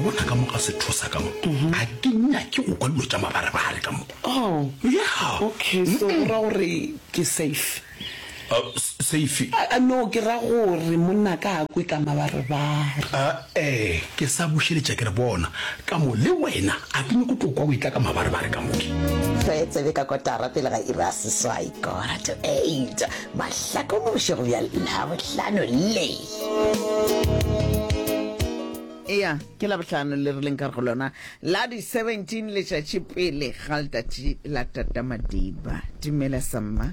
bona ka mo ga sethosa ka mo, ga ke nyake go kwa dilo tša mabarebare ka mo. Oh. Yeah. Okay, so go ra gore ke safe. Uh, safe? Uh, no, ke ra gore monna ka a kwe ka mabarebare. Uh, eh, ke sa bušeletša ke re bona, ka mo le wena a ke nyako tlo kwa o etla ka mabarebare ka mo ke. Re tsebe ka kotara pele ga iri ya seswai, quarter to eight, Mahlakong mo bošego bja Labohlano le. Eya, ke Labohlano le re leng ka go lona la di 17 letšatši pele ga letšatši la Tata Madiba. Dumela Samma.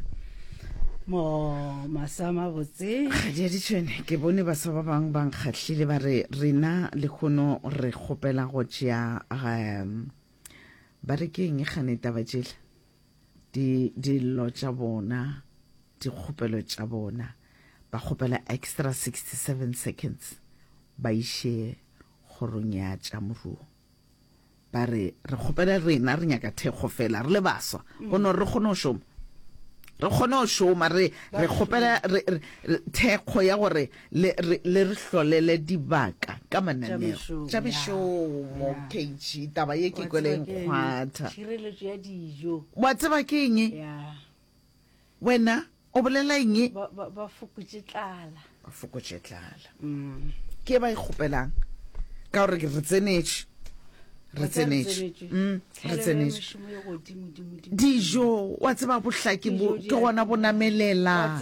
Mo masa mabotse. Kgadi ya ditšhwene, ke bone baswa ba bangwe ba nkgahlile ba re rena lehono re kgopela go tšea um ba re ke eng gane taba tšela di dillo tša bona dikgopelo tša bona ba kgopela extra 67 seconds ba iše kgorong ya tša moruo. Ba re, re kgopela rena, re nyaka thekgo fela, re le baswa, go no re kgone go šoma. Re kgone go šoma, re, re kgopela re, re, thekgo ya gore le re, le re hlolele dibaka ka mananeo. Tša mešomo, KG, taba ye ke kwele e nkgwatha. Tšhireletšo ya dijo. Wa tseba ke eng? Wena o bolela eng? Ba, ba, ba fokotše tlala. Ba fokotše tlala. Mm. Ke ba e kgopelang. Ka gore re tsenetše. Re tsenetše. Mm, re tsenetše. Dijo, wa tseba bohlaki bo ke gona bo namelela.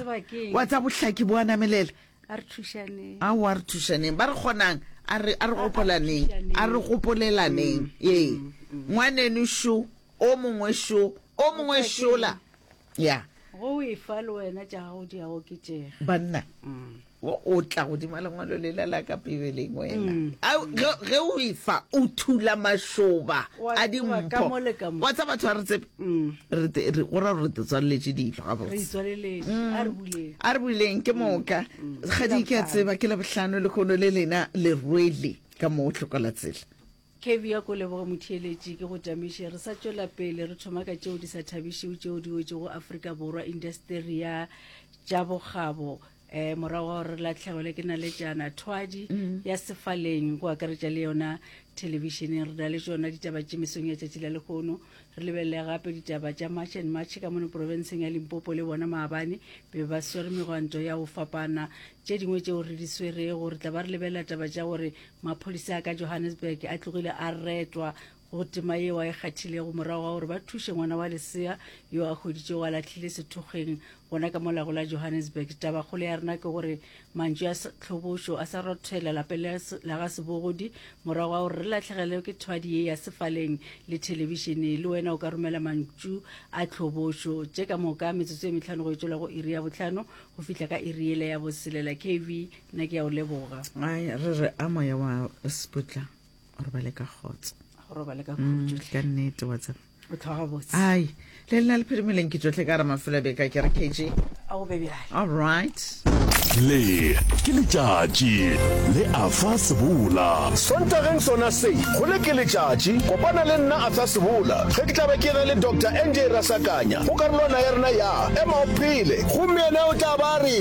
Wa tseba bohlaki bo a namelela. A re thušaneng. Aowa, a re thušaneng. Ba re kgonang, a re, a re gopolaneng. A re gopolelaneng. Mm. Ee. Mm, mm. Ngwaneno šo, o mongwe šo, o mongwe šola. Ya. Go o efa le wena tša gago di a oketšega. Banna, o, o tla godima lengwalo lela la ka Bibeleng wena. Au, ge, ge o efa, o thula mašoba Wa a tseba ka dimpho. mo le ka mo. Wa tseba batho ga re tsebe. Re te, re, go ra gore re te tswaleletše dilo Re gabotse. itswaleletše. A re buleng. A re buleng, ke moka. Kgadi, ke a tseba ke Labohlano lehono le lena le rwele ka mo Tlokolatsela. Kevy a ko leboge motheeletši ke go tamiše. Re sa tšwela pele re thoma ka tšeo di sa thabišego tšeo di wetšego Afrika Borwa indasteri ya tša bokgabo eh, morago ga gore re lahlegelwe ke naletšana thwadi mm. ya sefaleng go akaretša le yona thelebišeneng. Re na le tšona ditaba tše mesong ya tšatši la lehono. Re lebelele gape ditaba tša March and March ka mono profenseng ya Limpopo le bona maabane be ba swere megwanto ya go fapana. Tše dingwe tšeo re di swerego re tla ba re lebelela taba tša gore Maphodisa a ka Johannesburg a tlogile a retwa go tema yeo a e kgathilego morago ga gore ba thuše ngwana wa lesea yo a hweditšego a lahlile sethokgweng gona ka molago la Johannesburg. Tabakgolo ya rena ke gore mantšu a tlhobošo a sa rothela lapeng la ga Sebogodi morago ga gore re lahlegelwe ke thwadi ye ya sefaleng le thelebišene. Le wena o ka romela mantšu a tlhobošo. Tše ka moka metsotso e mehlano go e tšwela go iri ya bohlano go fihla ka iri yela ya boselela. KV Nna ke a o leboga. Ai, re re a moya wa Seputla o robale ka kgotso. Go robale ka khutšo. Mm, ka nnete wa tseba. O tlhoga botse. Ai, le lena le phirimileng ke tšohle ka re mafelo a beka ke re KG. A go be bjale. All right. Le ke letšatši le Arthur Sebola. Sontageng sona se, go le ke letšatši, kopana le nna Arthur Sebola ge ke tla be ke ena le Doctor NJ Rasakanya go karolwana ya rena ya Ema o Phele. Gomme yena o tla ba a re,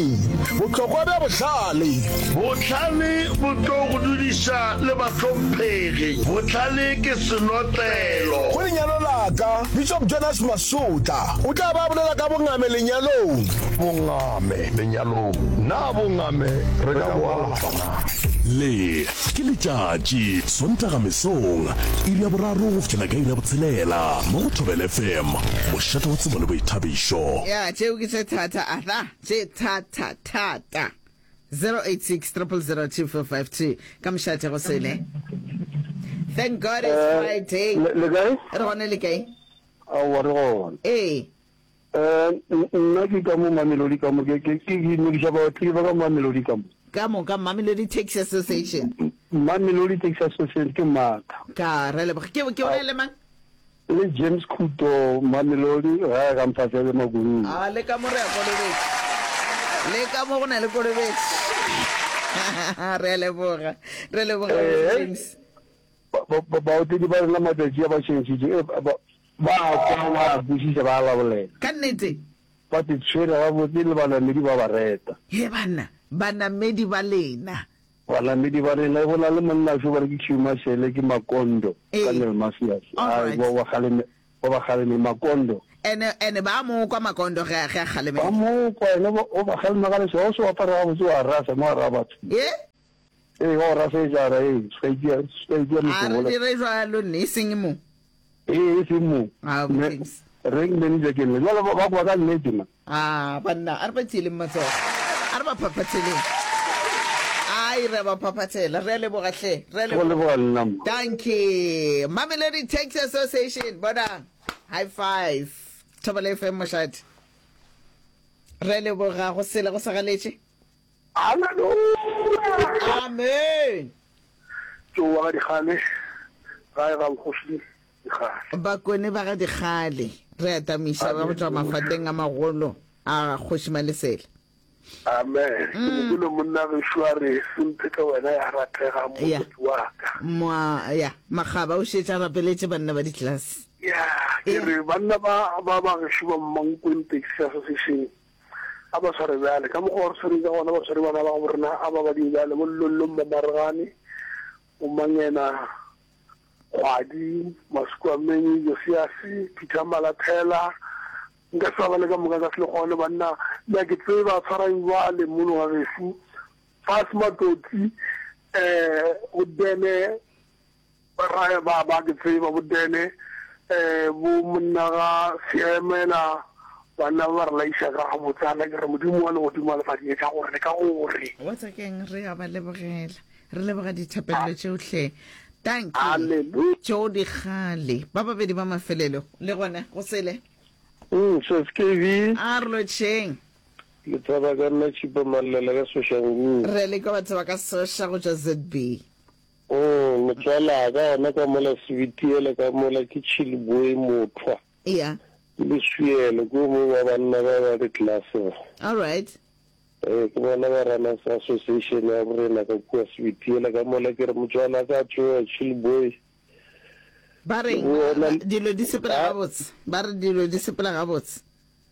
Bohlokwa bja bohlale. Bohlale bo tlo go dudiša le bahlomphegi. Bohlale ke senotlelo. Go lenyalo la ka, Bishop Jonas Masotla o tla ba a bolela ka bongame lenyalong. Bongame lenyalong, Na bongame re ka bo alafa na? Le ke letšatši, Sontaga mesong, iri ya boraro go fihlela ka iri ya botshelela, mo go Thobela FM, mošate wa tsebo le boithabišo. Ya, tšeo ke tše thata, Arthur, tše thata, thata. 086 000 2452, ka mošate go sele. Thank God it's Eh, Friday. le le kae? Re gone le kae? Aowa re gona. Ee. Eh, nna ke ka mo Mamelodi ka mo ke ke ke dumediša baotledi ba ka Mamelodi ka mo. Ka moka Mamelodi Taxi Association. Mamelodi Taxi Association ke maatla. Ka re leboga. Ke ke bolela le mang? Le James Khuto Mamelodi gae ga Mfahlele Makulung. A le ka mo re a kolobetše. Le ka mo go na le kolobetše. Re a leboga. Re leboga Eh, James. Baotledi ba rena matšatši a ba tšhentšhitše, eh, ba ba a kwa, ba a kwešiša, ba a labolela. Ka nnete. Ba te tshwere gabotse le banamedi ba ba reta. He banna, banamedi ba lena. Banamedi ba rena, e go na le monna šo ba re ke Hugh Mashele, ke Makondo, Ee. ka Neil Masias. All Ai, right. ba ba kgaleme, ba ba kgaleme, Makondo. Ene, ene ba mo kwa Makondo ge a, ge a Ba kgalemela. mo kwa, ene ba, o ba kgalema ka lešoba, o se o apare gabotse wa rasa mo gare ga batho. Ye? Ee, wa go rasetša, a re, ee, se ka itia, se ka itia A re mehlobola. dire jwalo nne, e seng mo. Ee, e seng mo. Ah, Me, James. rank manager ke nna. Jwale ba, ba kwa ka nnete ma. Ah, banna, a re ba tieleng matsogo. A re ba phaphatheleng. Ai, re a ba phaphathela. Re a leboga hle. Re a Go leboga. leboga nna ma. Dankie. Mamelodi Taxi Association, bonang. High five. Thobela FM mošate. Re a leboga go sele go sa galetše. Haleluya! Amen. Tšowa ga Dikgale, gae ga bogoši Dikgale. Bakone ba ga Dikgale, re atamiša ba go tšwa mafateng a magolo a Kgoši Malesela. Amen. Ke mo kwele monna gešo a re, Semphetla wena ya ratega, Ya. mosadi wa ka. Moa, ya, Makgaba o šetše a rapeletše banna ba ditlelase. Ya, ke re banna ba ba ba gešo ba Mankweng Taxi Association A ba sware bjale, ka mokgwa wa re swereng ka gona, ba swere bana ba gabo rena, a ba ba die bjale, bo Llollo Mmamaregane, bo Mangena Kgwadi, Masukuamenyi, Josiase, Peter Malathela, nka se ba bale ka moka, nka se le kgone, banna, le a ke tseba, tshwarang bjale mono ga gešu, Fas Matoti, um bo Dene, Ba raya ba ba ke tseba bo Dene, bo monna ga Seemela, banna ba ba re laiša ka gabotsana. Ke re Modimo wa legodimo a le fa dietša gore le ka gore. Wa tsa keng re a ba lebogela. Re leboga dithapelelo tšeohle. Dankie. Hallelujah. Tšeo di kgale. Ba babedi ba mafelelo le gona go sele. Mm, Sis KB. A re lotšheng. Le tseba ka nna Tšhipa Mallela ka Soshanguve. Re le kwa batho ba ka Sosha go tšwa ZB. Mm, motswalaka gona ka mola Sebitiele ka mola ke Chilboy Mothwa. Yeah. Ke leswielo, ke o mongwe wa banna ba ba di-class ba. All right. Ee, ke bona ba runners association ya borena ka kua Sebitiele ka mola ke re motswalaka tsoa Chilboy. Ba reng? Dilo di sepela gabotse. Ba re dilo di sepela gabotse.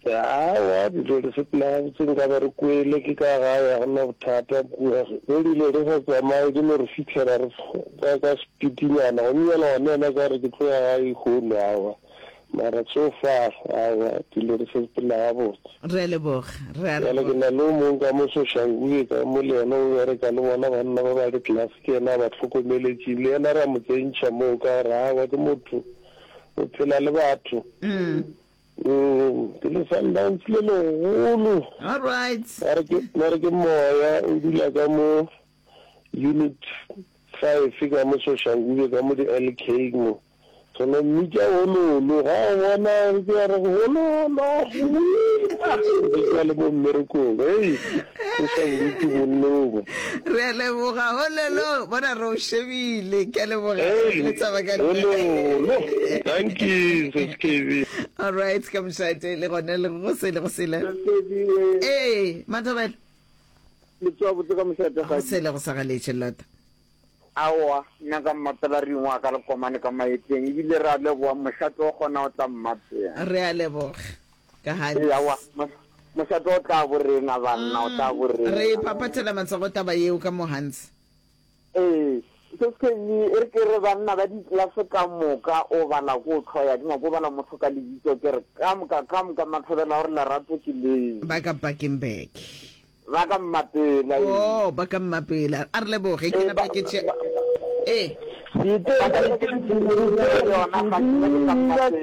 Aowa, dilo di sepela gabotse, nka be re kwele ke ka gae, ga go na bothata kua. Ge dilo di sa tsamaye, di no re fihlela re ka, ka sepitinyana. Gomme bjale gona yena ka re ke tlo ya gae lehono, aowa. Mara so far, aowa, dilo di sepela gabotse. Re a leboga, re a Bjale ke leboga. na le o mongwe ka mo Soshanguve ka mo, le yena o bereka le bona banna ba ba di-class, ke yena a ba hlokomeletšeng. Le yena ra mo tsentšha moo ka gore, aowa, ke motho, o phela le batho. Mm, ke le Sundowns le legolo. All right. Ba re ke ba re ke moya o dula ka mo unit 5 ka mo Soshanguve ka mo di LK mo. Re no mmitša hololo ga o bona ke ya re hololo. Ke le mo mmerekong. Hey, o sa bodutu bonnobo. Re a leboga hololo bona re o shebile ke a leboga Hey, le tsaba ka hololo. Thank you, Sis KB. All right ka mošate le gone le go sele go sele. Ee, Mathobela. Le tsoa botse ka mošate Go sele go sa galetše lota. Aowa, nna ka mmapela ring wa ka lekomane ka maeteng ebile re a leboga mošate o kgona o tla mmapela. Re a leboga ka Hans. Ee, aowa, mošate o tla bo rena banna, o tla bo rena. Re phaphathela matsogo taba yeo ka mo Hans. Ee, se se e re ke re banna ba ditlelase ka moka o bala ko o hloya, ke nyako bala motho ka lebitso ke re ka moka ka moka mathobela gore lerato ke leo. Ba ka Bakenberg. Ba ka Mmapela, ee. Oh, ba ka Mmapela. A re leboge, ke Ee, napa ba, ke tše. ba, Ee. ba ka yona ga ke ba ke ka Mmapela.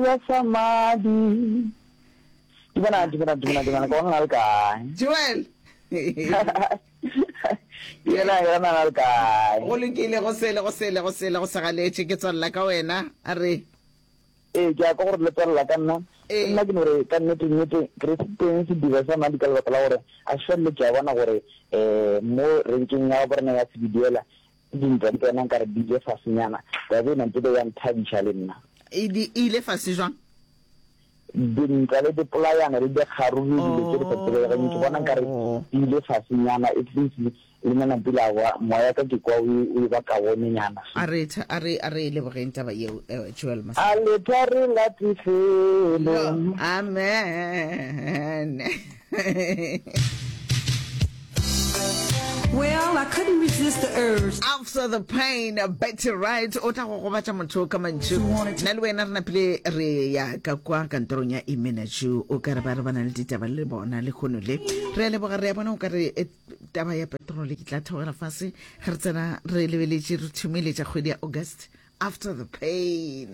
Ba sa madi. Dumela, dumela, dumela, dumela. Ka bona le kae? Joel. Dumela, ke bona le kae? Go lokile, go sele, go sele, go sele, go sa galetše. Ke tswalela ka wena. A re. Ee, ke a kwa gore le tswalela ka nna. Ee. Nna ke no re ka nnete nnete ke re teng sediba sa madi ka lebaka la gore a se felele ke a bona gore um mo renkeng ya borena ya Sebediela dintwa di tsena nkare di ile fasenyana. Taba ena ntebe ya nthabiša le nna. E di e ile fase jwang? Dintwa le dipolayano le dikgaruru dilo tše di sa tsebegeng ke bona nkare di ile fasenyana at least Le nna napile a kwa moya ka ke kwa o e ba kaonenyana. A re a re a re lebogeng taba yeo eh, Joel Mas. A le thari la tifelo. Amen. Well, I couldn't resist the urge. After the pain, Betty Wright o tla go gobatša motho ka mantšu. Nna le wena re napile re ya ka kwa kantorong ya Imenaju o ka re ba re ba na le ditaba le bona lehono le. Re a leboga re a bona o ka re eh, taba ya petrole ke tla theogela fase ge re tsena re lebeletše re thumeletša kgwedi ya August after the pain.